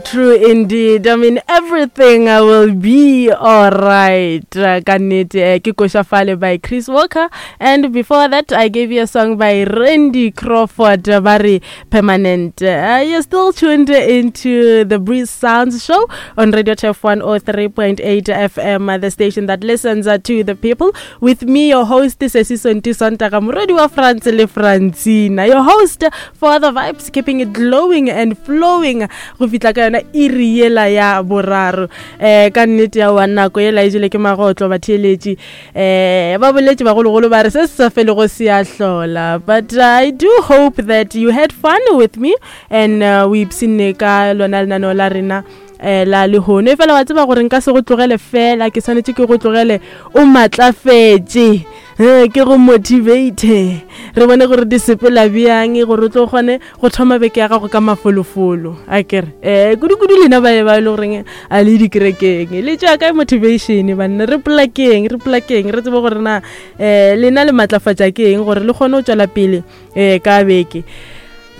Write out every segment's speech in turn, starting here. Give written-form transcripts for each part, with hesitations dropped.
True indeed. I mean, everything will be alright. Ka nnete, ke Koša Fale by Chris Walker. And before that, I gave you a song by Randy Crawford, ba re Permanent. You're still tuned into the Breeze Sounds show on Radio Turf 103.8 FM, the station that listens to the people. With me, your host, Sesi Sonti Sontaga, morwedi wa France le Francina, your host for the vibes, keeping it glowing and flowing go fihla ka yona iri yela ya boraro. Um ka nnete ya wa nako yela e jele ke magotlo batheeletši. Um ba boletše bagologolo ba re se se sa felego se a hlola. But I do hope that you had fun with me and o ipshinne ka lona lenaneo la rena um la lehono. Efela wa tseba gore nka se go tlogele fela, ke swanetše ke go tlogele o matlafetše, ke go motivate, re bone gore di sepela bjang gore o tlo kgone go thoma beke ya gago ka mafolofolo. A kere um kudu-kudu lena ba ba e le goreng a le dikerekeng, le tšwa kae motivation banna? Re polakeng, re polakeng, re tsebe gore na um lena le matlafatša ke eng gore le kgone go tšwela pele um ka beke.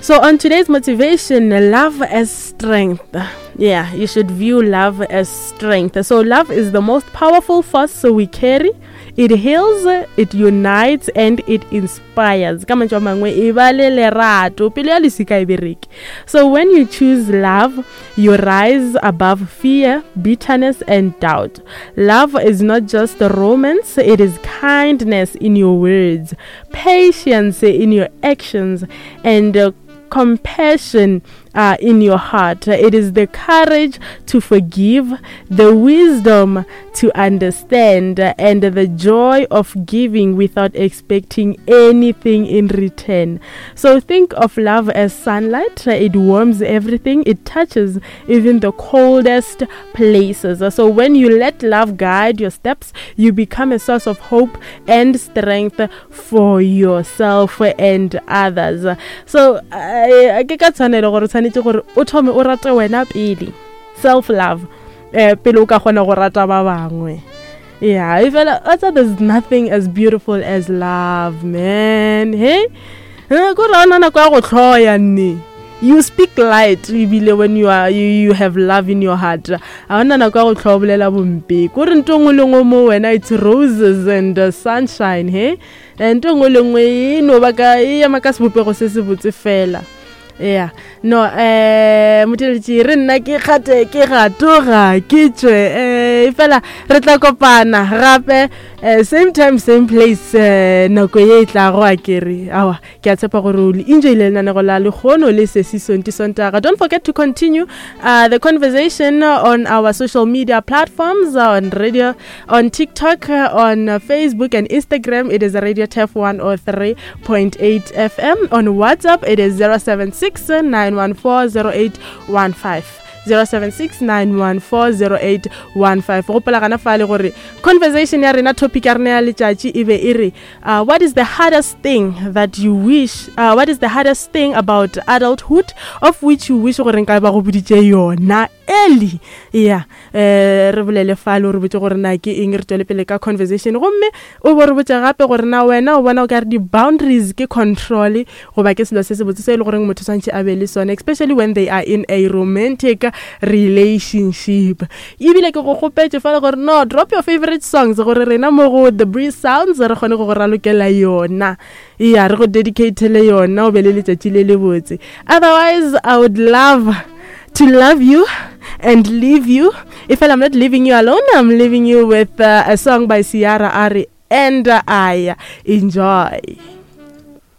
So on today's motivation, love as strength. Yeah, you should view love as strength. So love is the most powerful force we carry. It heals, it unites, and it inspires. Ka mantšu a mangwe, e ba le lerato, pelo ya leswika e bereke. So when you choose love, you rise above fear, bitterness, and doubt. Love is not just romance, it is kindness in your words, patience in your actions, and compassion in your heart. It is the courage to forgive, the wisdom to understand, and the joy of giving without expecting anything in return. So think of love as sunlight. It warms everything. It touches even the coldest places. So when you let love guide your steps, you become a source of hope and strength for yourself and others. So ke ka tshwanelo gore tshwanetse gore o thome o rate wena pele, self love, pele o ka kgona go rata ba bangwe. Yeah, e fela also there's nothing as beautiful as love, man. Hey, ko re ona nako ya go hloya nne. You speak light ebile when you have love in your heart. A ona nako ya go hloya bolela bompe. Ko re ntho nngwe le nngwe mo wena, it's roses and sunshine, hey? Ntho nngwe le nngwe e no ba ka, e ema ka sebopego se se botse fela. Yeah. No, motheletši, re nna ke kgate, ke gatoga, ke tšwe. Fela re tla kopana gape, same time, same place, nako ye e tlago a kere. Aowa, ke a tshepa gore o enjoyile lenanego la lehono le Sesi Sonti Sontaga. Don't forget to continue the conversation on our social media platforms, on radio, on TikTok, on Facebook and Instagram. It is Radio Turf 103.8 FM. On WhatsApp, it is 076-914-0815. 076-914-0815. Gopola gana fale gore conversation ya rena, topic ya rena ya letšatši e be e re, what is the hardest thing that you wish, what is the hardest thing about adulthood of which you wish gore nka ba go boditše yona early? Yeah, re bolele fale, o re botse gore na ke eng, re tswele pele ka conversation. Gomme o bo re botse gape gore na wena o bona o ka re di-boundaries ke control goba ke selo se se botse se e le goreng motho swantšhe a be le sone, especially when they are in a romantic relationship. Ebile ke go kgopetše fale gore no, drop your favorite songs gore rena mo go The Breeze Sounds re kgone go go ralokela yona. Yeah, re go dedicatele yona, o be le letšatši le le botse. Otherwise, I would love to love you and leave you. If I'm not leaving you alone, I'm leaving you with a song by Ciara Ari and I. Enjoy.